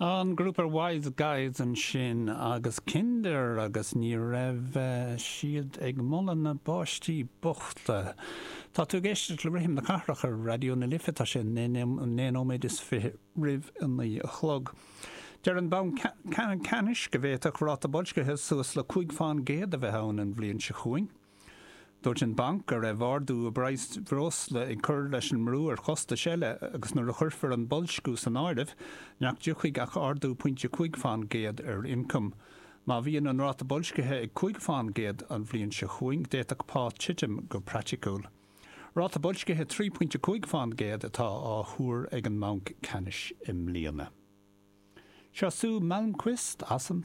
An grúpa Wise Guys ansin agus Kinder agus ní raibh siad ag moladh na bpáistí bochta. Tá tú ag éisteacht le Rithim na Cathrach ar Raidió na Life, tá sé 19 nóiméad roimh a 9 a chlog. Deir an Banc Ceannais go bhféadfadh ráta boilscithe suas le 5 fán gcéad a bheith ann an bhliain seo chugainn. Dúirt an banc go raibh ardú i bpraghas breosla ag cur leis an mbrú ar chostais eile agus nuair a chuirfear an boilsciú san áireamh, nach dtiocfaidh ach ardú pointe 5 fán gcéad ar ioncam. Má bhíonn an ráta boilscithe ag 5 fán gcéad an bhliain seo chugainn, d'fhéadfadh pá titim go praiticiúil. Ráta boilscithe 3 pointe 5 fán gcéad atá á thuar ag an mBanc Ceannais i mbliana. Seo Sue Malmquist as an.